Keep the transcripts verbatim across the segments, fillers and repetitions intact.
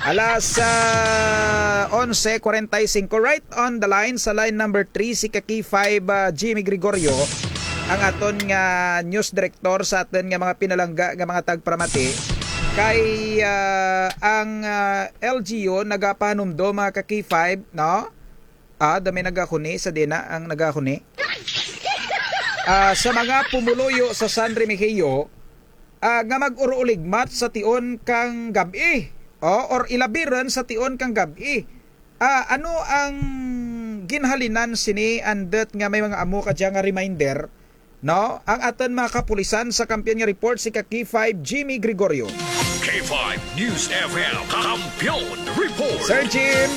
Alas, ah, onse kwarenta y singko, right on the line, sa line number three, si ka K five, ah, Jimmy Gregorio, ang aton nga news director sa aton nga mga pinalangga nga mga tagparamati. Kay, ah, ang, ah, L G U nagapahanumdom, mga ka K five, no? Ah, damo nagahuni, sa dina ang nagahuni. Ah, sa mga pumuluyo sa San Remigio, ah, nga mag-uruligmat sa tion kang gab-i, o, or ilabi run sa tion kang gab-i. Ah, ano ang ginhalinan sini, andut nga may mga amo kadya nga reminder, no? Ang aton mga kapulisan sa Kampiyon nga Report, si ka K five Jimmy Gregorio. K five News F M, Kampiyon Report. Sir Jim.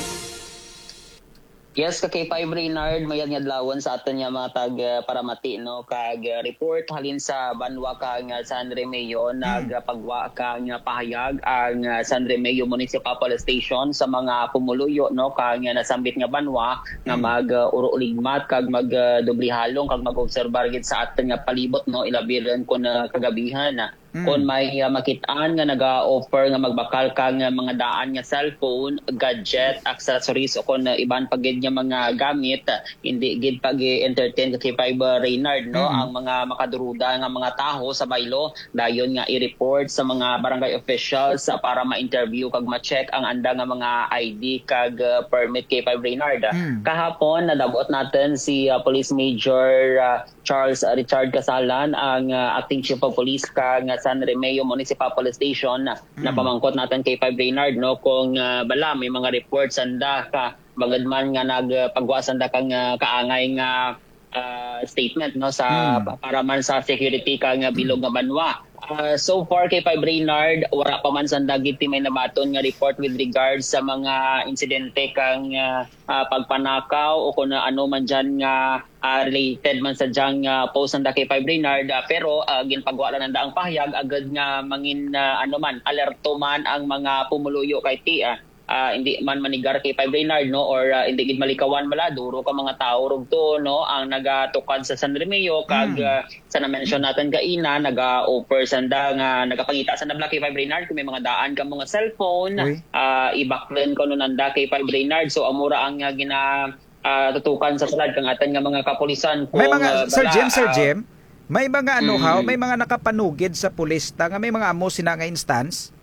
Yes, ka K five Reynard, mayad nga adlawon sa aton nga mga tag, ah, paramati, no, kag, ah, report halin sa banwa kang, ah, San Remigio, nagpagwa kang, ah, pahayag ang, ah, San Remigio Municipal Police Station sa mga pumuluyo, no, kang, ah, nasambit nga banwa nga mag, ah, uro-uligmat kag mag, ah, doble halong kag mag-obserbar gid sa aton nga palibot, no, ilabi run kon, ah, kagabihan. Kon may, ah, makit-an nga naga-offer nga magbakal kang, ah, mga daan nga cellphone, gadget, accessories, o kon, ah, iban pa gid nga mga gamit, ah, indi gid pag-entertain ka K five, ah, Reynard, no? Ang mga makaduruda nga mga tawo sa baylo, dayon nga i-report sa mga barangay officials, ah, para ma-interview kag ma-check ang anda nga mga I D kag, ah, permit K five Reynard. Kahapon, nadab-ot natun si, ah, Police Major, ah, Charles Richard Casalan, ang, ah, Acting Chief of Police kang San Remigio Municipal Police Station, ah, napamangkot natun K five Reynard, no, kung, ah, bala may mga report sanda ka bangud man nga nagpagwa sanda kang, ah, kaangay nga, ah, statement, no, sa pa-, para man sa security kang, ah, bilog nga banwa. Ah, so far, K five Reynard, wara pa man sanda gid ti may nabaton nga report with regards sa mga insidente kang, ah, ah, pagpanakaw o kon ano man dyan nga ah, related man sa dyang, ah, post nanda K five Reynard, ah, pero, ah, ginpagwa lang nanda ang pahayag agud nga mangin, ah, ano man, alerto man ang mga pumuluyo kay ti, ah, ah, indi man manigar K five Reynard, no, or, ah, indi gid malikawan bala, duro ka mga tawo rugto, no, ang nagatukad sa San Remigio, kag, ah, sa na-mention natun kaina, naga-offer sanda nga, nagapangita sanda bala K five Reynard, kung may mga daan kamo nga cellphone, ah, ibaklun kuno nanda K five Reynard. So, amo ra ang, ah, gina-, ah, tutukan sa sulod kang atun nga mga kapulisan. May mga, Sir Jim, Sir Jim, may mga ano haw, may mga nakapanugid sa pulis ta nga may mga amo sina nga instance?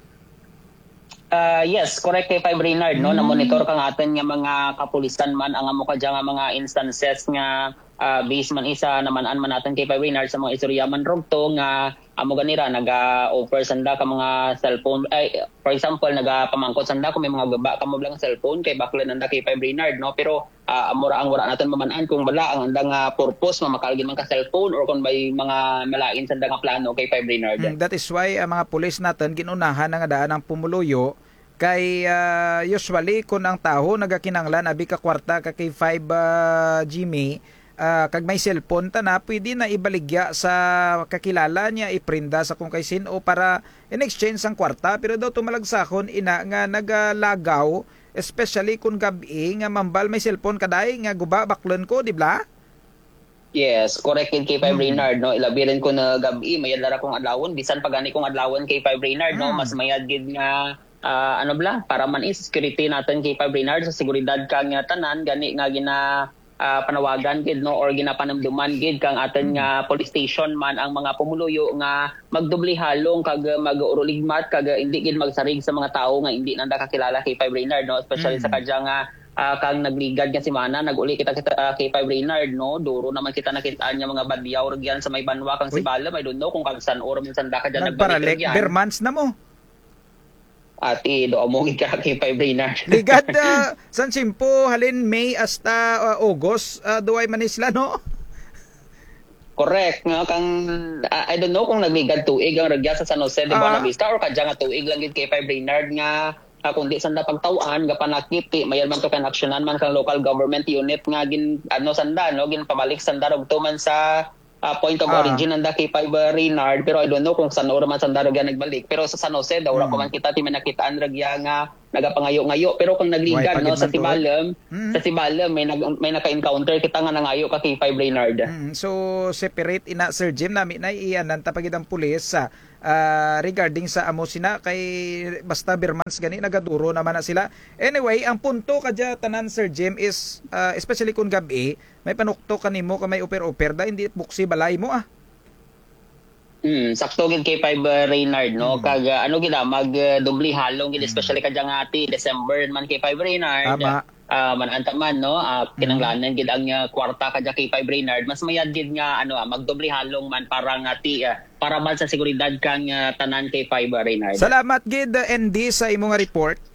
Ah, yes, correct K five Reynard, no? Na-monitor kang atun nga mga kapulisan man ang amo kadya nga mga instances nga, ah, base man isa naman-an man natun K five Reynard sa mga istorya man rugto nga amo gani ra, naga-offer sanda ka mga cellphone, ay, for example, nagapamangkot sanda kung may mga guba kamo bala nga cellphone, kay baklun nanda K five Reynard, no? Pero, ah, amo ra ang wara natun maman-an kung bala ang andang, ah, purpose, mamakal gid man ka cellphone or kung may mga malain sanda nga plano K five Reynard. Hmm, that is why ang mga pulis natun gin-unahan na nga daan ang pumuluyo. Kay, ah, usually, kon ang tawo nagakinahanglan abi ka kwarta ka K five, ah, Jimmy, ah, kag may cellphone tana, pwede na ibaligya sa kakilala niya, iprenda sa kon kay sin-o para in exchange sang kwarta. Pero daw to malagsahon ina nga nagalagaw, especially kon gab-i, nga mambal may cellphone ka day nga guba, baklun ko, di bala? Yes, correct gid K five Reynard, no? Ilabi run kon gab-i, mayad lang ra kung adlawon, bisan pa gani kung adlawon K five Reynard, no? Mas mayad gid nga, ah, ano bala, para man is security natun K five Reynard, sa seguridad kang, ah, tanan, gani nga gina-, ah, panawagan gid, no? Or ginapanumduman gid kang atun nga police station man ang mga pumuluyo nga magdoble halong kag, ah, mag-uruligmat kag, ah, indi gid magsarig sa mga tawo nga indi nanda kakilala K five Reynard, no? Especially sa kadya nga ah, kang nagligad nga semana, nag-uli kita, kita, ah, K five Reynard, no? Duro naman kita nakit-an nga mga badyaw rugyan sa may banwa kang Sibalom. I don't know kung kag san-o ra man sanda kadya nagbalik rugyan. Bare months na mo. Ati, do amo gid ka K five Reynard. Ligad, ah, san tiyempo, halin May hasta, ah, August, ah, duay man ni sila, no? Correct, nga kang, ah, I don't know kung nagligad tuig ang rugya sa San Jose de Buenavista or kadya nga tuig lang gid K five Reynard nga ah, kundi sanda pagtaw-an, gapanakit, ti, mayad man to kang aksyonan man kang local government unit nga gin-, ano, sanda, no, ginpabalik sanda rugto man sa, ah, point of origin nanda K five Reynard, pero I don't know kung san-o ra man sanda rugya nagbalik, pero sa San Jose daw, wara pa man kita ti may nakit-an rugya nga, nagapangayo-ngayo. Pero kung nagligad, no, sa Sibalom, mm, sa Sibalom, may nag-, may naka-encounter kita nga nangayo ka K five Reynard. Mm, so, separate ina, Sir Jim, nami na i-anan ta pa gid ang pulis, ah, ah, regarding sa amo sina kay basta bermonths gani, nagaduro naman na sila. Anyway, ang punto kadya tanan, Sir Jim, is, ah, especially kung gab-i, may panuktok kanimo ka may oper-oper da, hindi buksi balay mo, ah. Mm, sakto gid K five, uh, Reynard, no? Mm. Kag, uh, ano gid, ah, mag, uh, doble halong gid, mm, especially kadya nga ti December man K five Reynard. Tama. Ah, man-an ta man, no? Ah, mm, kinanglanan gid ang, uh, kwarta kadya K five Reynard. Mas mayad gid nga, ano, ah, magdoble halong man para nga ti, ah, para man sa seguridad kang, uh, tanan K five, uh, Reynard. Salamat gid, uh, N D, sa imo nga report.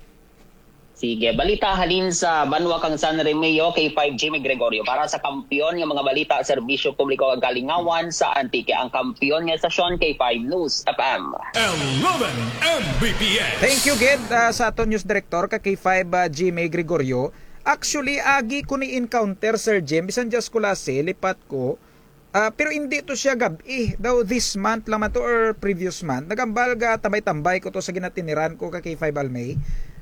Sige, balita halin sa banwa kang San Remigio, K five Jimmy Gregorio. Para sa kampiyon nga mga balita, serbisyo publiko kag kalingawan sa Antique, ang kampiyon nga estasyon, K five News F M. Eleven M B P S. Thank you gid, ah, sa aton news director ka K five, ah, Jimmy Gregorio. Actually, agi ko ni-encounter, Sir Jim, bisan dya sa Culasi, lipat ko. Ah, pero indi to siya gab-i. Daw this month lang man to or previous month. Nagambal ga tambay-tambay ko to sa ginatiniran ko ka K five Almay.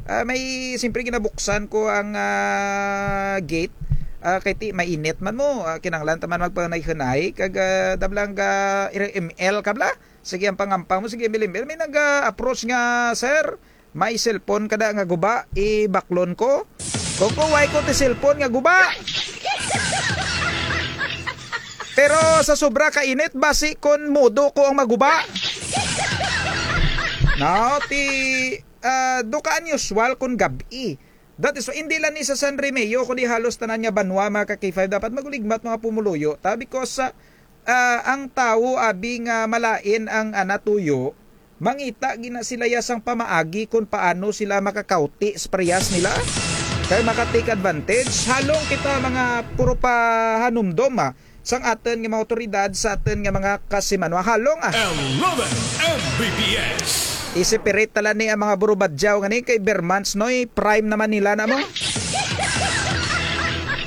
Ah, may, siyempre, ginabuksan ko ang, ah, gate. Ah, kay ti mainit man mo. Ah, kinanglan ta man magpanay-hanay. Kag, ah, dablang ga M L ka bala. Sige, ang pangampang mo, sige, M L, M L. May nag-approach nga, "Sir, may cellphone ka da nga guba, ibaklon ko?" Kuko, "Wara ko ti cellphone nga guba. Pero sa sobra ka init, basi kon modo ko ang maguba." No, ti, ah, daw ka unusual kon gab-i. That is why, indi lang ni sa San Remigio, kundi halos tanan nga banwa, mga ka K five, dapat maguligmat mga pumuluyo ta, because, ah, ah, ang tawo, abi nga malain ang ana tuyo, mangita gid na sila ya sang pamaagi kon paano sila makakawti sa parehas nila. Kay maka-take advantage, halong kita mga puro pahanumdom, ah. Sang atun nga mga awtoridad, sa atun nga mga kasimanwa. Halong, ah. Eleven M B P S. I-separate ta lang ni ang mga burubadyaw ngani kay Bermans, noy, prime naman nila na mo.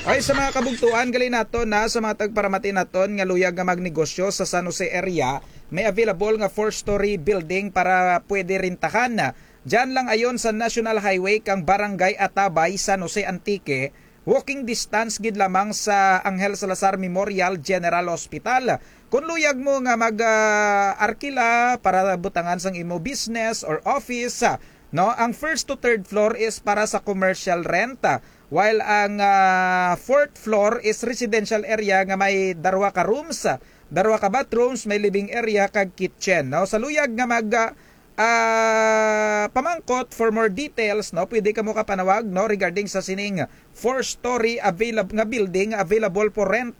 Ay, sa mga kabugtuan, gali naton na sa mga tagparamati naton nga luyag nga magnegosyo sa San Jose area, may available nga four-story building para pwede rentahan. Dyan lang ayon sa National Highway kang Barangay Atabay, San Jose, Antique. Walking distance gid lamang sa Angel Salazar Memorial General Hospital. Kon luyag mo nga mag, ah, arkila para butangan sang imo business or office, ah, no, ang first to third floor is para sa commercial rent, ah, while ang, ah, fourth floor is residential area nga may darwa ka rooms, ah, darwa ka bathrooms, may living area kag kitchen, no? Sa luyag nga mag, ah, ah, pamangkot, for more details, no, pwede kamo kapanawag, no, regarding sa sining four-story availab-, nga building available for rent,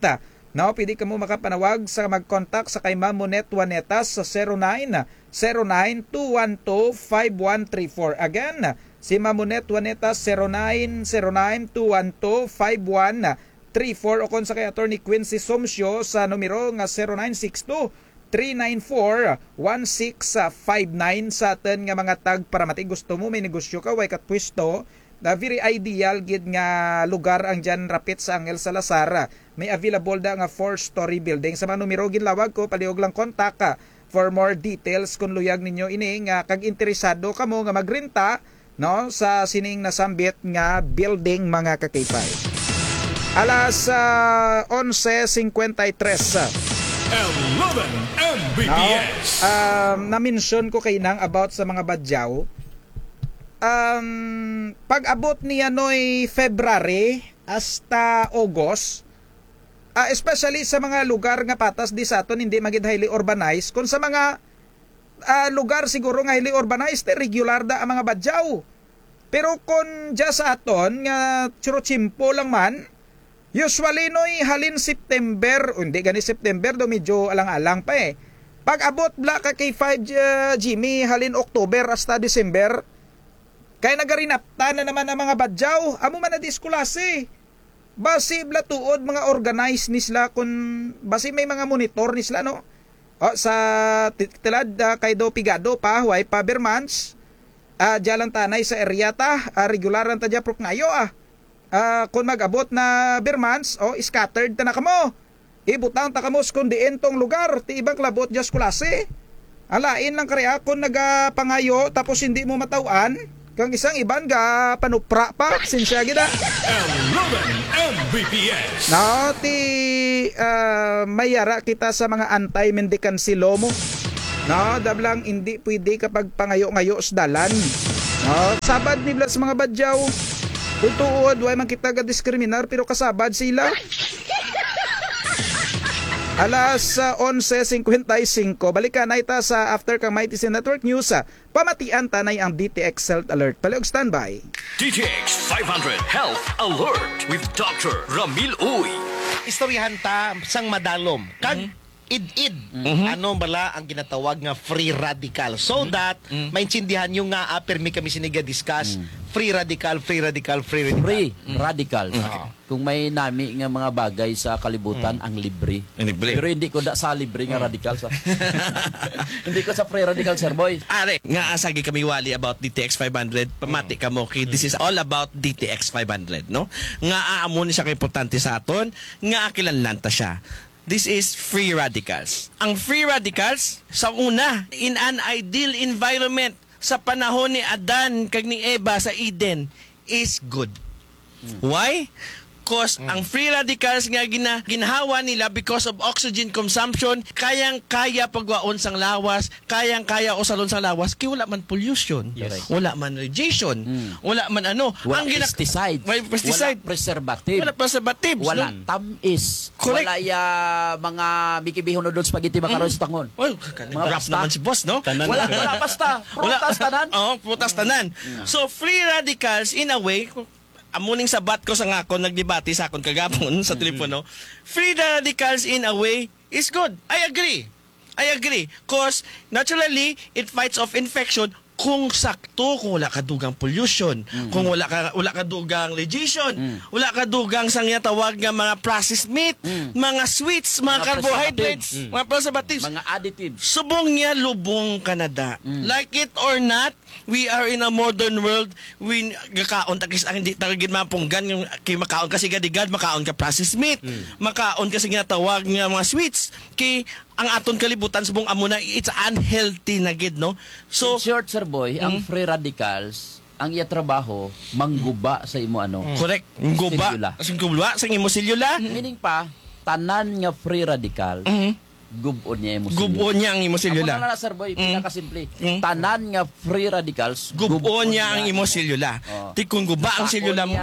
no, pwede kamo makapanawag sa mag-contact sa kay Ma'am Monet Juanetas sa zero nine zero nine two one two five one three four. Again, si Ma'am Monet Juanetas, zero nine zero nine two one two five one three four, o kon sa kay Attorney Quincy Somsyo sa numero nga zero nine six two three nine four one six five nine. Sa atun nga mga tagparamati, gusto mo may negosyo ka, way ka pwesto, na very ideal gid nga lugar ang dyan rapit sa Angel Salazar. May available da nga four-story building. Sa mga numero ginlawag ko, palihog lang kontak, ah, for more details kon luyag ninyo ini nga kag interesado kamo nga magrenta, no, sa sining nasambit nga building, mga ka-K five. Alas, ah, onse cincuenta y tres. Eleven M B P S. No? Um, na-mention ko kaina nga about sa mga badyaw. Um, pag-abot niya noy February hasta August, ah, especially sa mga lugar nga patas di sa atun, hindi man gid highly urbanized, kon sa mga ah, lugar siguro nga highly urbanized, eh, regular da ang mga badyaw. Pero kon dya sa atun nga churutsimpo lang man, usually, noy, halin September, o hindi gani September, daw medyo alang-alang pa, eh. Pag-abot bala ka K five, ah, Jimmy, halin October hasta December, kay nagarinaptan na naman ang mga badyaw, amo man na di sa Culasi. Basi bala tuod mga organize ni sila kon basi may mga monitor ni sila, no? O, sa ti-, tilad, ah, kay daw pigado pa, way pa bermans. Ah, dya lang ta anay sa area ta, ah, regular lang ta dya, prok ngayo, ah. Ah, kon mag-abot na bermans, o, scattered ta na kamo. Ibutang ta kamo sa kon diin tong lugar, ti iban kalabot dya sa Culasi. Ang lain lang kara kon nagapangayo tapos hindi mo mataw-an, Kang isang iban gapanupra pa, pasensya gid, ah. Eleven M B P S. No, ti, ah, may ara kita sa mga anti-mendicant law mo. No, dablang indi pwede ka pagpangayo-ngayo sa dalan. No, sabad ni bala sa mga Badjao. Kon tuod, way man kita gadiskriminar, pero kasabad sila. Alas, ah, onse singkwenta y singko. Balikan na kita sa after kang Mighty C Network News, ah. Pamatian ta na ang D T X Health Alert. Palihog standby. D T X five hundred Health Alert with Doctor Ramil Uy. Istoryahan ta sang madalom. Kag id-id. Ano bala ang ginatawag nga free radical? So that maintindihan n'yo nga, ah, pirmi kami sini ga-discuss. Free radical, free radical, free radical. Free radical. Kung may nami nga mga bagay sa kalibutan, ang libre. Ang libre. Pero hindi ko da sa libre nga radical sa. Hindi ko sa free radical, Sir Boy. Ari, nga, ah, sagi kami wali about D T X five hundred, pamati kamo kay this is all about D T X five hundred, no? Nga, ah, amo ni siya kaimportante sa aton, nga, ah, kinahanglan ta siya. This is free radicals. Ang free radicals, sa una, in an ideal environment, sa panahon ni Adan kag ni Eva sa Eden, is good. Why? 'Cause ang free radicals nga gina-, ginhawa nila because of oxygen consumption, kayang-kaya pagwaon sang lawas, kayang-kaya usalon sang lawas, kay wala man pollution, wala man radiation, wala man ano. Wala pesticide. Wala pesticide. Wala preservative. Wala preservatives, wala tamis. Correct. Wala ya mga Mickey Bihon noodles spaghetti macarons tangon. Well, mga prutas naman si boss, no? Wala, wala pasta. Prutas tanan. Oo, prutas tanan. So, free radicals, in a way, amo ning sabat ko sa akon, nagdebate sa akon kagapon sa telepono. Free radicals, in a way, is good. I agree. I agree. 'Cause, naturally, it fights off infection kung sakto, kung wala ka dugang pollution, kung wala ka, wala ka dugang radiation, wala ka dugang sang ginatawag nga mga processed meat, mga sweets, mga carbohydrates, mga preservatives. Mga additives. Subong niya, lubong ka na da. Like it or not, we are in a modern world. Gakaon ta kis-a, hindi ta gid mapunggan, kay makaon ka sigadigad, makaon ka processed meat, makaon ka sa ginatawag nga mga sweets, kay ang aton kalibutan subong amo na, it's unhealthy na gid, no? So, in short, Sir Boy, ang free radicals, ang iya trabaho, mangguba sa imo ano? Correct. Guba. Selula. Sa guba sa imo selula. Meaning pa, tanan nga free radical, gub-on niya imo selula. Gub-on niya ang imo selula. Amo na lang, Sir Boy, pinakasimple. Tanan nga free radicals, gub-on niya ang imo selula. Ti kon guba ang selula mo,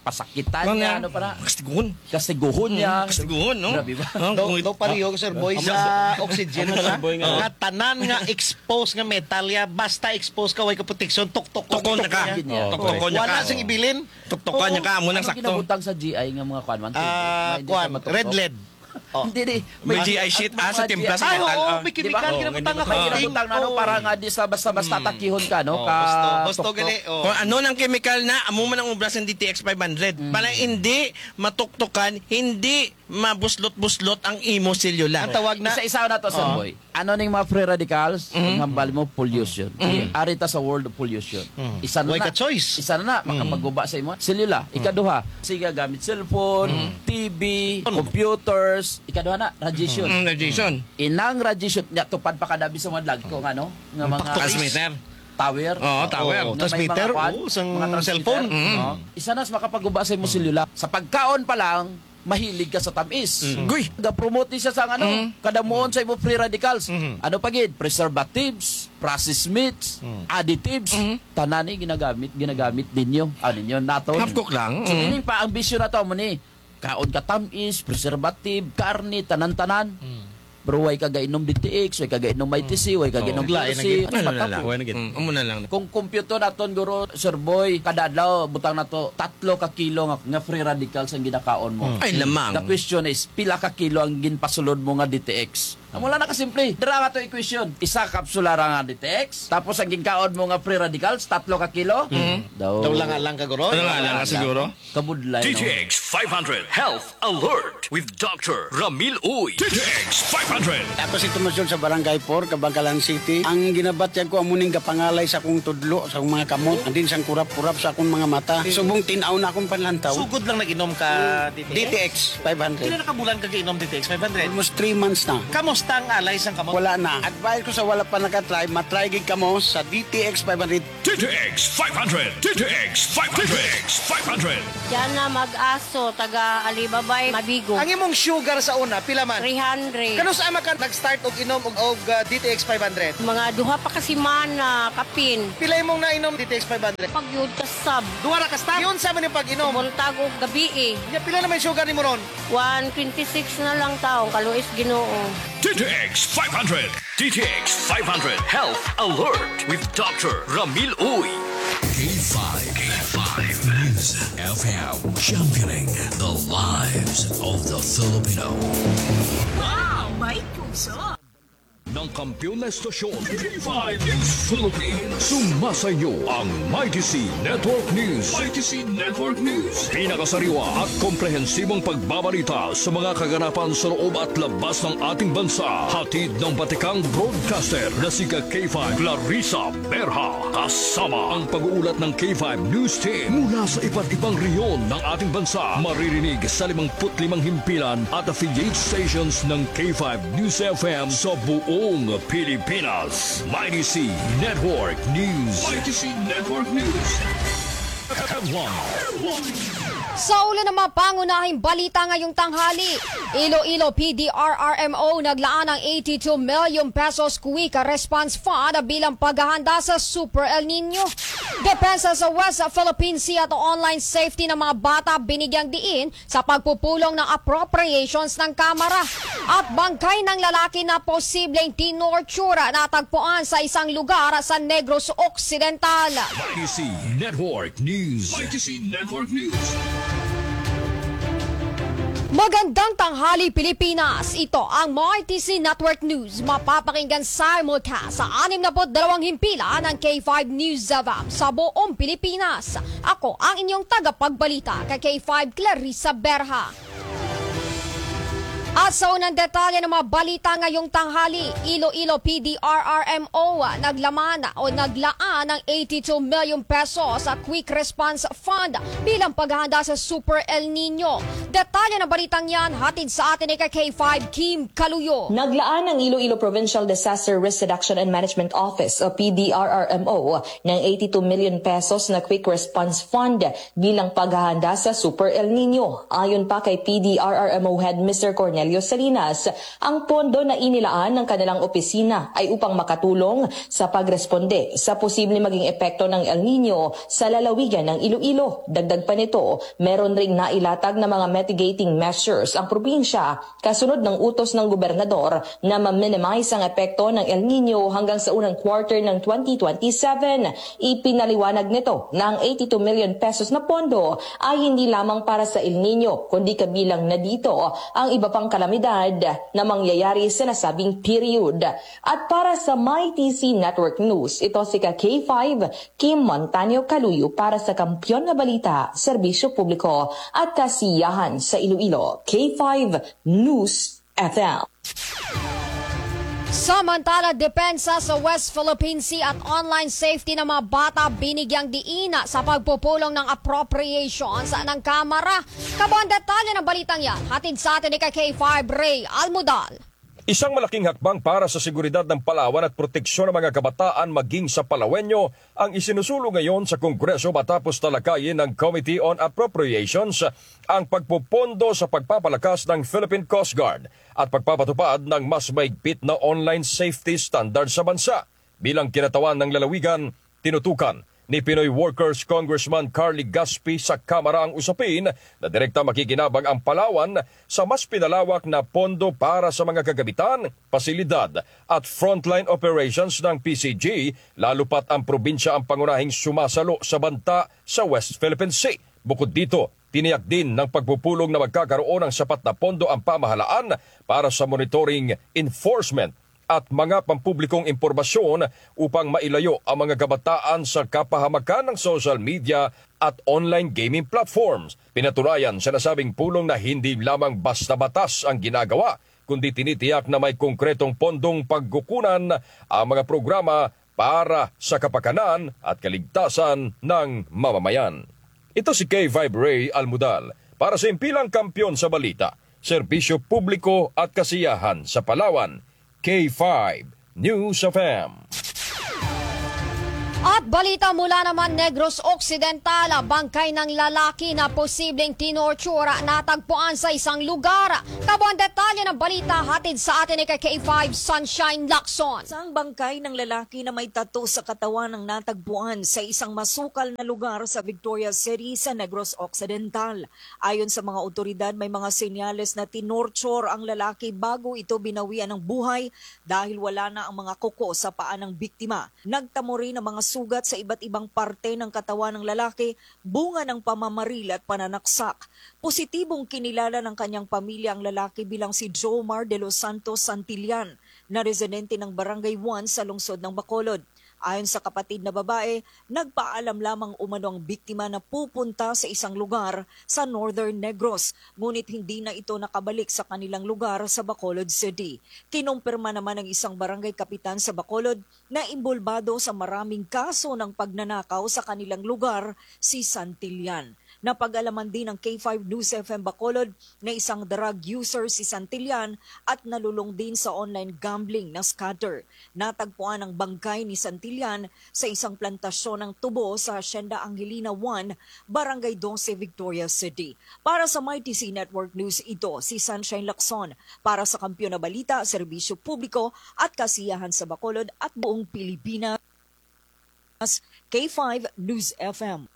pasakitan niya, ano pa na. Kastiguhon. Kastiguhon niya. Kastiguhon, no? Grabe ba? Daw, daw pareho, Sir Boy, sa oxygen, nga tanan nga expose nga metal ya, basta expose ka, way ka protection, tuktukon ka. Tuktukon ka. Wala sing ibilin. Tuktukan niya ka, amo nang sakto. Ano ginabutang sa G I nga mga kuan man? Ah, kuan, red lead. Hindi, di. May G I sheet, ah, sa timpla sa metal. Oo, may chemical ginabutang nga, para nga di sa basta-basta takihon ka, no? Husto, husto gali. Kon ano nang chemical na, amo man ang obra sa D T X five hundred. Para hindi matuktukan, hindi mabuslot-buslot ang imo selula. Ang tawag na. Isa-isa na to, Sir Boy. Ano ning mga free radicals? Ang hambal mo, pollution. Ari ta sa world of pollution. Isa na na. Isa na na, makapaguba sa imo selula. Ikaduha, sige, gamit cellphone, T V, computers. Ikaduha na, radiation. Radiation. Inang radiation, nya tupad pa kada bisan mga dagko nga, no? Nga mga transmitter. Tower. Oo, tower. Nga may mga transmitter, kuan, oo, sang mga transmitter, cellphone. Isa na sa makapaguba sa imo selula. Sa pagkaon pa lang, mahilig ka sa tamis. Guy. Ga-promote siya sa ano, kadamuon sa imo free radicals. Ano pa gid? Preservatives, processed meats, additives, tanan ni ginagamit, ginagamit ninyo. Ah, ninyo, naton. Hapkok lang. So, meaning pa, ang bisyo nato, amo ni, kaon ka tamis, preservative, karne, tanan-tanan. Pero way ka gainom D T X, way ka gainom I T C, way ka gainom T L C. Amo na lang. Amo na lang. Kung computo naton, guro, Sir Boy, kada adlaw, butang nato, tatlo ka kilo nga, nga free radicals ang ginakaon mo. Ay, lamang. The question is, pila ka kilo ang ginpasulod mo nga D T X? Amo lang na kasimple. Dira nga to equation. Isa kapsula ra nga D T X, tapos ang ginkaon mo nga free radicals, tatlo ka kilo. Daw lang, lang ka, guro. Daw lang, lang ka siguro. Kabudlay, no? D T X five hundred Health Alert with Doctor Ramil Uy. D T X five hundred. Ako si Tomas Jun sa Barangay four, Kabankalan City. Ang ginabatyag ko, amo ning gapangalay sa akong tudlo, sa akong mga kamot. Andin sang kurap-kurap sa akong mga mata. Subong tin-aw na akong panlantaw. Sugod lang nag-inom ka D T X? D T X five hundred. Pila na ka bulan ka gainom D T X five hundred? Almost three months na. Kamusta? Tang alay sang kamo. Wala na. Advice ko sa wala pa naka-try, ma-try gid kamo sa D T X five hundred. D T X five hundred. D T X five hundred. D T X five hundred. Diyan na mag-aso, taga Alibabay, Mabigo. Ang imong sugar sa una, pila man? Three hundred. Kanus-a man ka nag-start og inom og, og, ah, D T X five hundred? Mga duha pa ka semana, kapin. Pila imong nainom D T X five hundred? Pagyud ka sab. Duha ra ka stop? Giunsa man ang pag-inom? Buntag og gabii. Nya, pila na may sugar nimo ron? One twenty-six na lang taon, kaluoy sa Ginoo. D T X five hundred. D T X five hundred Health Alert with Doctor Ramil Uy. K five, K five News F M, championing the lives of the Filipino. Wow, may puso! Ng kampiyon na estasyon, K five News Philippines. Sumasa inyo ang Mighty C Network News. Mighty C Network News. Pinakasariwa at komprehensibong pagbabalita sa mga kaganapan sa loob at labas ng ating bansa. Hatid ng batikang broadcaster na si ka K five Clarissa Berha. Kasama ang pag-uulat ng K five News Team mula sa iba't ibang rehiyon ng ating bansa. Maririnig sa limangput limang himpilan at affiliate stations ng K five News F M sa buong Pilipinas. Mighty C Network News. Mighty C Network News. Headline. Sa ulo ng mga pangunahing balita ngayong tanghali, Iloilo P D R R M O naglaan ng eighty-two million pesos Quick Response Fund bilang paghahanda sa Super El Nino. Depensa sa West Philippine Sea at online safety ng mga bata binigyang diin sa pagpupulong ng appropriations ng Kamara. At bangkay ng lalaki na posibleng tinorture natagpuan sa isang lugar sa Negros Occidental. Mighty C Network News. Mighty C Network News. Magandang tanghali, Pilipinas. Ito ang Mighty C Network News. Mapapakinggan simulcast sa animnaput dalawang himpilan ng K five News F M sa buong Pilipinas. Ako ang inyong tagapagbalita, ka K five Clarissa Berha. At sa unang detalye ng mga balita ngayong tanghali, Iloilo P D R R M O naglaman o naglaan ng eighty-two million pesos sa Quick Response Fund bilang paghahanda sa Super El Nino. Detalye ng balitang yan, hatid sa atin ni ka K five Kim Kaluyo. Naglaan ng Iloilo Provincial Disaster Risk Reduction and Management Office o P D R R M O ng eighty-two million pesos na Quick Response Fund bilang paghahanda sa Super El Nino. Ayon pa kay P D R R M O Head Mister Cornelio Salinas, ang pondo na inilaan ng kanilang opisina ay upang makatulong sa pagresponde sa posibleng maging epekto ng El Nino sa lalawigan ng Iloilo. Dagdag pa nito, meron ring nailatag na mga mitigating measures ang probinsya kasunod ng utos ng gobernador na ma-minimize ang epekto ng El Nino hanggang sa unang quarter ng twenty twenty-seven. Ipinaliwanag nito na ang eighty-two million pesos na pondo ay hindi lamang para sa El Nino, kundi kabilang na dito ang iba pang kalamidad na mangyayari sa nasabing period. At para sa Mighty C Network News, ito si ka K five Kim Montaño Kaluyo para sa Kampiyon na Balita, Serbisyo Publiko at Kasiyahan sa Iloilo, K five News F M. Samantala, depensa sa West Philippine Sea at online safety ng mga bata binigyang diin sa pagpupulong ng appropriations ng Kamara. Kabuang detalye ng balitang yan, hatid sa atin ni ka K five Ray Almudal. Isang malaking hakbang para sa seguridad ng Palawan at proteksyon ng mga kabataan maging sa Palawenyo ang isinusulong ngayon sa Kongreso matapos talakayin ng Committee on Appropriations ang pagpupondo sa pagpapalakas ng Philippine Coast Guard at pagpapatupad ng mas mahigpit na online safety standard sa bansa. Bilang kinatawan ng lalawigan, tinutukan ni Pinoy Workers Congressman Carly Gaspi sa Kamara ang usapin na direkta makikinabang ang Palawan sa mas pinalawak na pondo para sa mga kagamitan, pasilidad at frontline operations ng P C G, lalo pa't ang probinsya ang pangunahing sumasalo sa banta sa West Philippine Sea. Bukod dito, tiniyak din ng pagpupulong na magkakaroon ng sapat na pondo ang pamahalaan para sa monitoring, enforcement at mga pampublikong impormasyon upang mailayo ang mga kabataan sa kapahamakan ng social media at online gaming platforms. Pinatunayan sa nasabing pulong na hindi lamang basta batas ang ginagawa, kundi tinitiyak na may konkretong pondong pagkukunan ang mga programa para sa kapakanan at kaligtasan ng mamamayan. Ito si K five Ray Almudal para sa Himpilang Kampiyon sa Balita, Serbisyo Publiko at Kasiyahan sa Palawan, K five News F M. At balita mula naman Negros Occidental, bangkay ng lalaki na posibleng tinorture natagpuan sa isang lugar. Kabuang detalye ng balita hatid sa atin ni K five Sunshine Lacson. Isang bangkay ng lalaki na may tattoo sa katawan ang natagpuan sa isang masukal na lugar sa Victoria City sa Negros Occidental. Ayon sa mga awtoridad, may mga senyales na tinorture ang lalaki bago ito binawian ng buhay dahil wala na ang mga kuko sa paa ng biktima. Nagtamo rin ang mga sugat sa iba't ibang parte ng katawan ng lalaki, bunga ng pamamaril at pananaksak. Positibong kinilala ng kanyang pamilya ang lalaki bilang si Jomar de los Santos Santillan, na residente ng Barangay one sa lungsod ng Bacolod. Ayon sa kapatid na babae, nagpaalam lamang umano ang biktima na pupunta sa isang lugar sa Northern Negros, ngunit hindi na ito nakabalik sa kanilang lugar sa Bacolod City. Kinumpirma naman ng isang barangay kapitan sa Bacolod na imbolbado sa maraming kaso ng pagnanakaw sa kanilang lugar si Santillan. Napag-alaman din ng K five News F M Bacolod na isang drug user si Santillan at nalulong din sa online gambling na scatter. Natagpuan ang bangkay ni Santillan sa isang plantasyon ng tubo sa Hacienda Angelina one, Barangay doce, Victoria City. Para sa Mighty C Network News, ito si Sunshine Lacson. Para sa Kampiyon na Balita, Serbisyo Publiko at Kasiyahan sa Bacolod at buong Pilipinas, K five News F M.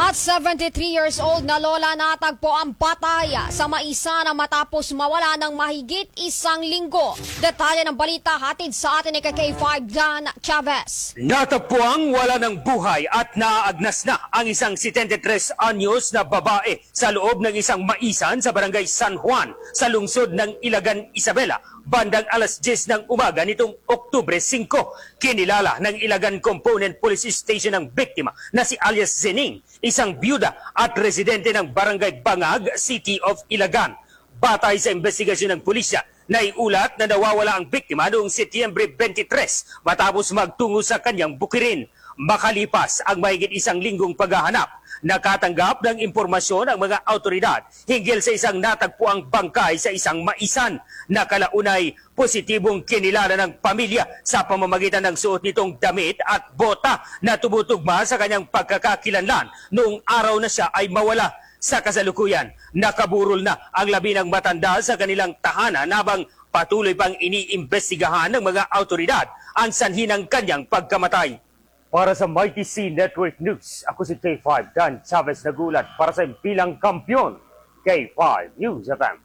At seventy-three years old na lola natagpuang patay sa maisan matapos mawala ng mahigit isang linggo. Detalye ng balita hatid sa atin ni K five Dan Chavez. Natagpuang wala ng buhay at naaagnas na ang isang setenta y tres anyos na babae sa loob ng isang maisan sa Barangay San Juan sa lungsod ng Ilagan, Isabela, bandang alas dyes ng umaga nitong Oktubre singko. Kinilala ng Ilagan Component Police Station ang biktima na si alias Zening, isang byuda at residente ng Barangay Bangag, City of Ilagan. Batay sa imbestigasyon ng pulisya, naiulat na nawawala ang biktima noong Setyembre twenty-three matapos magtungo sa kanyang bukirin. Makalipas ang mahigit isang linggong paghahanap, nakatanggap ng impormasyon ang mga awtoridad hinggil sa isang natagpuang bangkay sa isang maisan. Nakalaunay, positibong kinilala ng pamilya sa pamamagitan ng suot nitong damit at bota na tumutugma sa kanyang pagkakakilanlan noong araw na siya ay mawala. Sa kasalukuyan, nakaburol na ang labi ng matanda sa kanilang tahanan habang patuloy pang iniimbestigahan ng mga awtoridad ang sanhi ng kanyang pagkamatay. Para sa Mighty C Network News, ako si K five Dan Chavez nag-uulat para sa Himpilang Kampiyon, K five News F M.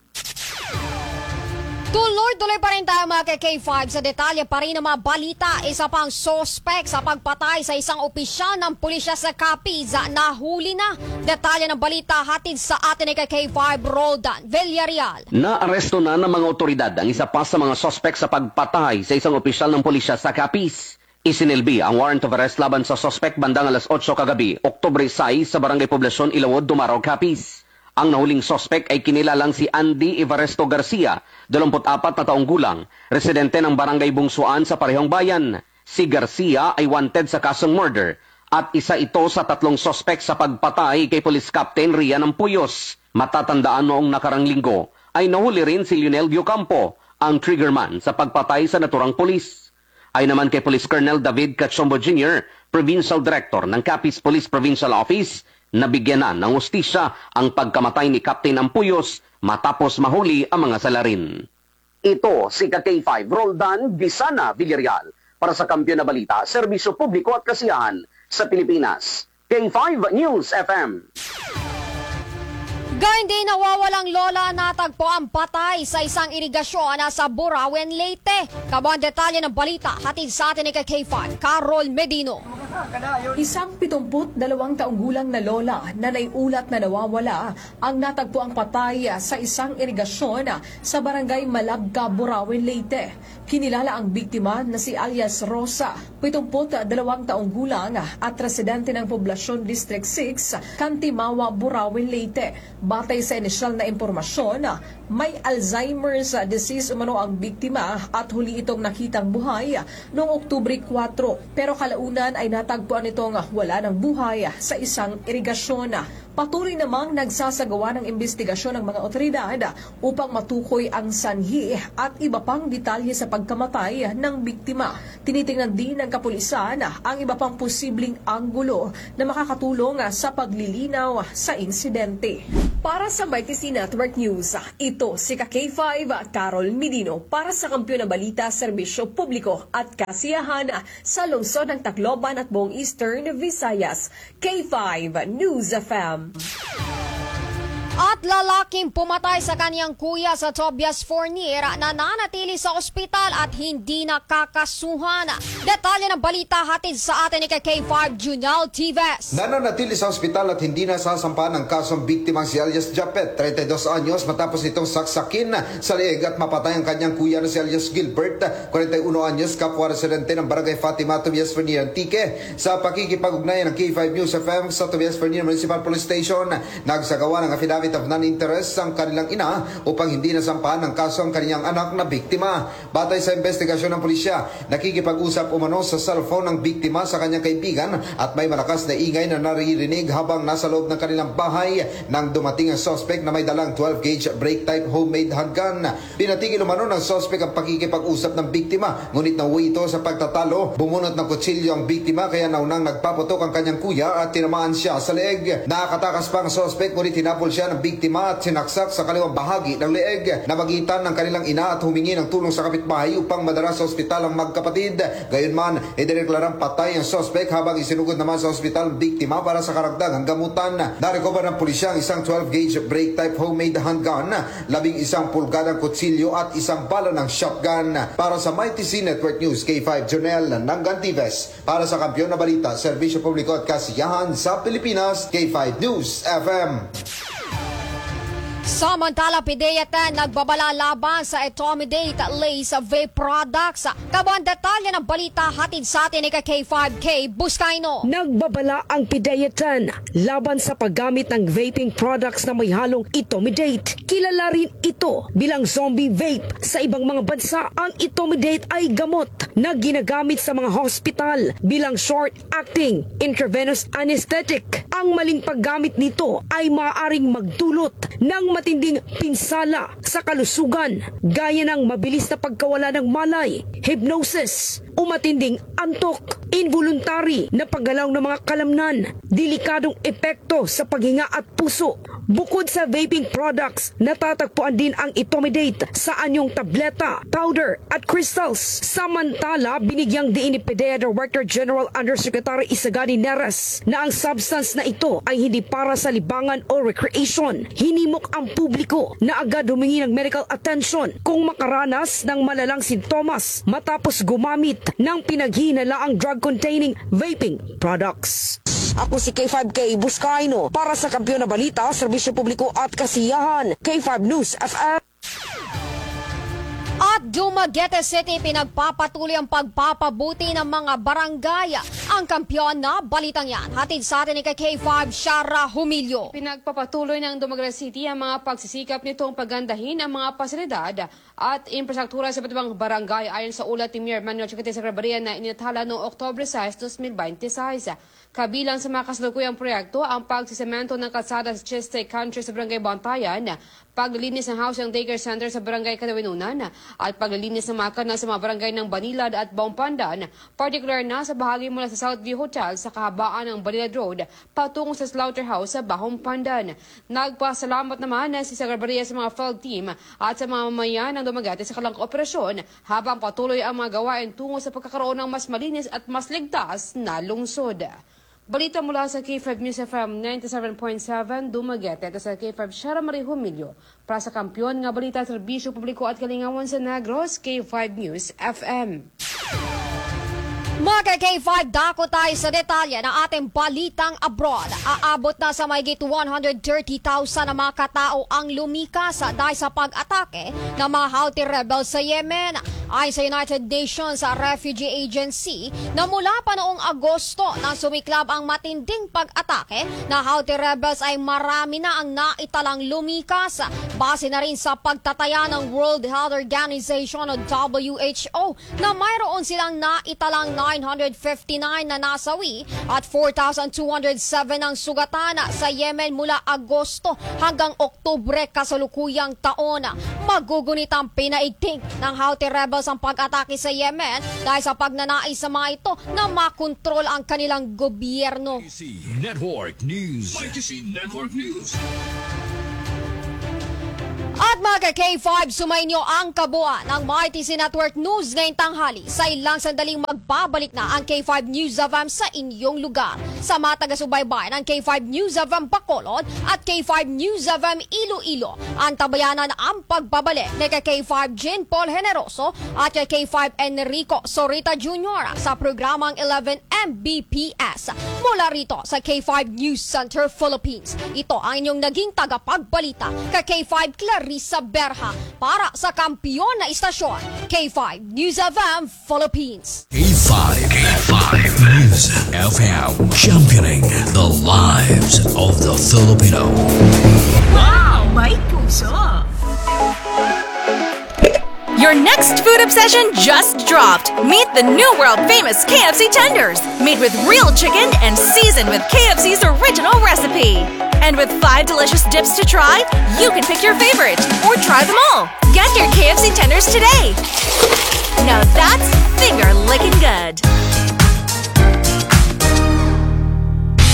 Tuloy-tuloy pa rin tayo, mga ka-K five, sa detalye pa rin ng mga balita. Isa pang suspek sa pagpatay sa isang opisyal ng pulisya sa Capiz, nahuli na. Detalye ng balita hatid sa atin ni ka-K five Roldan Villarreal. Naaresto na ng mga awtoridad ang isa pa sa mga suspek sa pagpatay sa isang opisyal ng pulisya sa Capiz. Isinilbi ang warrant of arrest laban sa suspek bandang alas otso kagabi, Oktubre sais, sa Barangay Poblacion, Ilawod, Dumarao, Capiz. Ang nahuling suspek ay kinilalang si Andy Evaristo Garcia, dalawampu't apat na taong gulang, residente ng Barangay Bungsuan sa parehong bayan. Si Garcia ay wanted sa kasong murder at isa ito sa tatlong suspek sa pagpatay kay Police Captain Rian Ampuyos. Matatandaan, noong nakarang linggo ay nahuli rin si Lionel Diocampo, ang triggerman sa pagpatay sa naturang pulis. Ayon naman kay Police Colonel David Cachombo Junior, Provincial Director ng Capiz Police Provincial Office, nabigyan na ng hustisya ang pagkamatay ni Captain Ampuyos matapos mahuli ang mga salarin. Ito si ka-K five Roldan Bisana Villarreal para sa Kampiyon na Balita, Serbisyo Publiko at Kasiyahan sa Pilipinas. K five News F M. Gayon din, nawawalang lola natagpuang patay sa isang irigasyon sa Burauen, Leyte. Kabuang detalye ng balita, hatid sa atin ni ka-K five Carol Medino. Isang pitumput dalawang taong gulang na lola na naiulat na nawawala ang natagpuang patay sa isang irigasyon sa Barangay Malabca, Burauen, Leyte. Kinilala ang biktima na si alias Rosa, pitumput dalawang taong gulang at residente ng Poblacion District six, Cantimawa, Burauen, Leyte. Batay sa inisyal na impormasyon, may Alzheimer's disease umano ang biktima at huli itong nakitang buhay noong Oktubre kwatro. Pero kalaunan ay natagpuan itong wala ng buhay sa isang irigasyon. Patuloy namang nagsasagawa ng imbestigasyon ang mga otoridad upang matukoy ang sanhi at iba pang detalye sa pagkamatay ng biktima. Tinitingnan din ng kapulisan ang iba pang posibleng anggulo na makakatulong sa paglilinaw sa insidente. Para sa Mighty C Network News, ito si ka K five, Carol Medino para sa Kampiyon na Balita, Serbisyo Publiko at Kasiyahan sa lungsod ng Tacloban at buong Eastern Visayas. K five News F M. At lalaking pumatay sa kaniyang kuya sa Tobias Fornier nananatili sa ospital at hindi nakakasuhan. Detalye ng balita hatid sa atin ni ka K five Junel Tives. Nananatili sa ospital at hindi nasasampahan ng kaso ang biktimang si alias Japet, treinta y dos anyos, matapos itong saksakin sa leeg at mapatay ang kanyang kuya na si alias Gilbert, kwarenta y uno anyos, kapwa residente ng Barangay Fatima, Tobias Fornier, Antique. Sa pakikipag-ugnayan ng K five News F M sa Tobias Fornier Municipal Police Station, nagsagawa ng affidavit of non-interest ang kanilang ina upang hindi nasampahan ng kaso ang kanilang anak na biktima. Batay sa imbestigasyon ng pulisya, nakikipag-usap umano sa cellphone ng biktima sa kanyang kaibigan at may malakas na ingay na naririnig habang nasa loob ng kanilang bahay nang dumating ang suspect na may dalang twelve gauge break type homemade handgun. Pinatigil umano ng suspect ang pakikipag-usap ng biktima, ngunit nauwi ito sa pagtatalo. Bumunot ng kutsilyo ang biktima, kaya naunang nagpaputok ang kanyang kuya at tinamaan siya sa leeg. Nakatakas pa ang suspect, ngunit hinabol siya ng biktima at sinaksak sa kaliwang bahagi ng leeg. Namagitan ng kanilang ina at humingi ng tulong sa kapitbahay upang madala sa ospital ang magkapatid. Gayunman, idineklarang patay ang suspect habang isinugod naman sa ospital ang biktima para sa karagdagang gamutan. Narecover ng pulisya ang isang twelve gauge break type homemade handgun, labing isang pulgadang kutsilyo at isang bala ng shotgun. Para sa Mighty C Network News, K five Jonel Nangantives. Para sa Kampiyon na Balita, Serbisyo Publiko at Kasiyahan sa Pilipinas, K five News F M. Samantala, PDEA ten nagbabala laban sa Etomidate Lace Vape Products. Kabuang detalye ng balita hatid sa atin ni ka K five Kay Buscaino. Nagbabala ang PDEA ten laban sa paggamit ng vaping products na may halong Etomidate. Kilala rin ito bilang zombie vape. Sa ibang mga bansa, ang Etomidate ay gamot na ginagamit sa mga hospital bilang short-acting intravenous anesthetic. Ang maling paggamit nito ay maaaring magdulot ng matinding pinsala sa kalusugan, gaya ng mabilis na pagkawala ng malay, hypnosis, o matinding antok, involuntary na paggalaw ng mga kalamnan, delikadong epekto sa paghinga at puso. Bukod sa vaping products, natatagpuan din ang Etomidate sa anyong tableta, powder, at crystals. Samantala, binigyang diin ni PDEA Director General Undersecretary Isagani Neres na ang substance na ito ay hindi para sa libangan o recreation. Hinimok ang publiko na agad humingi ng medical attention kung makaranas ng malalang sintomas matapos gumamit ng pinaghihinalaang drug-containing vaping products. Ako si K five Kay Buscaino para sa Kampiyon na Balita, Serbisyo Publiko at Kasiyahan, K five News F M. At Dumaguete City, pinagpapatuloy ang pagpapabuti ng mga barangay. Ang Kampiyon na Balitang yan, hatid sa atin ni ka K five Shara Humilio. Pinagpapatuloy ng Dumaguete City ang mga pagsisikap nitong pagandahin ang mga pasilidad at infrastruktura sa iba't ibang barangay, ayon sa ulat ni Mayor Manuel Chiquete Sagribarria na itinala noong Oktubre sais, dos mil bente y seis. Kabilang sa mga kasalukuyang proyekto ang pagsisemento ng kalsada sa Cheste Country sa Barangay Bantayan, paglilinis ng housing daycare center sa Barangay Cadavinunan, at paglilinis ng mga kanal sa mga barangay ng Banilad at Bahong Pandan, partikular na sa bahagi mula sa Southview Hotel sa kahabaan ng Banilad Road patungo sa Slaughterhouse sa Bahong Pandan. Nagpasalamat naman si Sagribarria sa mga field team at sa mga mamamayan ng Dumaguete sa kanilang kooperasyon habang patuloy ang mga gawain tungo sa pagkakaroon ng mas malinis at mas ligtas na lungsod. Balita mula sa K five News F M ninety-seven point seven Dumaguete, ito sa K five Shara Marie Humilio para sa Kampiyon nga Balita, Serbisyo Publiko at Kalingawan sa Negros, K five News F M. Mga ka K five, dako tayo sa detalye ng ating balitang abroad. Aabot na sa mahigit one hundred thirty thousand ang mga katao ang lumikas dahil sa pag-atake ng mga Houthi rebels sa Yemen. Ayon sa United Nations Refugee Agency, na mula pa noong Agosto na sumiklab ang matinding pag-atake na Houthi rebels ay marami na ang naitalang lumikas. Base na rin sa pagtataya ng World Health Organization o W H O na mayroon silang naitalang nine hundred fifty-nine na nasawi at four thousand two hundred seven ang sugatan sa Yemen mula Agosto hanggang Oktubre kasalukuyang taon. Magugunit ang pinaigting ng Houthi rebels ang pag-atake sa Yemen dahil sa pagnanais sa mga ito na makontrol ang kanilang gobyerno. Network News. Network News. At mga ka-K five, sumainyo ang kabuuan ng Mighty C Network News ngayong tanghali. Sa ilang sandaling magbabalik na ang K five News F M sa inyong lugar. Sa mga taga-subaybay ng K five News F M Bacolod at K five News F M Iloilo, antabayanan ang pagbabalik ni ka-K five Jean Paul Generoso at ka-K five Enrico Sorita Junior sa programang eleven M B P S. Mula rito sa K five News Center Philippines, ito ang inyong naging tagapagbalita, ka-K five Clarissa Berha, para sa kampiyon na istasyon, K five News F M Philippines. K five, K five News F M, championing the lives of the Filipino. Wow! May puso! Your next food obsession just dropped. Meet the new world famous K F C tenders, made with real chicken and seasoned with K F C's original recipe. And with five delicious dips to try, you can pick your favorite or try them all. Get your K F C tenders today. Now that's finger licking good.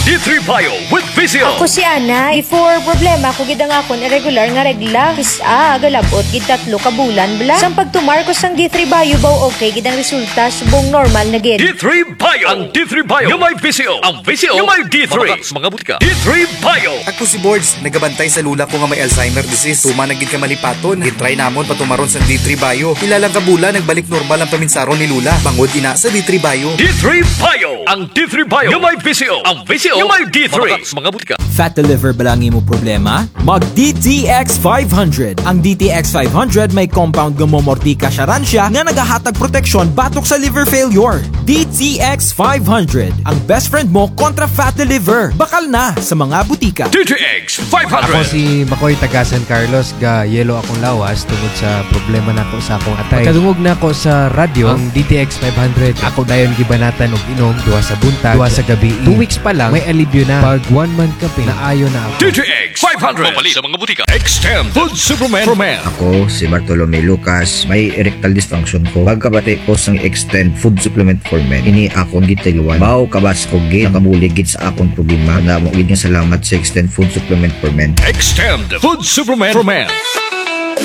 D three Bio with V C O. Ako si Ana. Before, problema ko gid ang akon irregular nga regla. Kis-a, galab-ot gid tatlo ka bulan bala. Sang pagtumar ko sang D three Bio, baw okay gid ang resulta, subong normal na gid. D three Bio. Ang D three Bio nga may V C O. Ang V C O nga may D three. Mga butika. D three Bio. Ako si Bords, nagabantay sa lola ko nga may Alzheimer disease. Tuman na gid ka malipaton. Gin-try namon patumaron sa D three Bio. Pila lang ka bulan, nagbalik normal ang paminsaron ni lola. Bangod ina sa D three Bio. D three Bio. Ang D three Bio nga may V C O. Ang V C O nga may D three. Mga butika. Fat liver bala ang imo problema? Mag D T X five hundred. Ang D T X five hundred may compound nga momortika siaran siya nga nagahatag proteksyon batok sa liver failure. D T X five hundred, ang best friend mo kontra fatty liver. Bakal na sa mga butika. D T X five hundred. Ako si Makoy, taga San Carlos, ga-yellow akong lawas tungod sa problema nako sa akong atay. Pagkadungog nako sa radyo, ang D T X five hundred, ako dayon gibanatan og inom, duha sa buntag, duha sa gabii. Two weeks pa lang, may alibyo na. Pag one month kapin, naayo na ako. D T X five hundred. Mapalit sa mga butika. Extend Food Supplement for Men. Ako si Bartolome Lucas, may erectile dysfunction ko. Pagkabati ko sang Extend Food Supplement for Men, ini akon gitiluan. Baw kabas ko gid, nakabulig gid sa akon problema. Damo gid nga salamat sa Extend Food Supplement for Men. Extend Food Supplement for Men.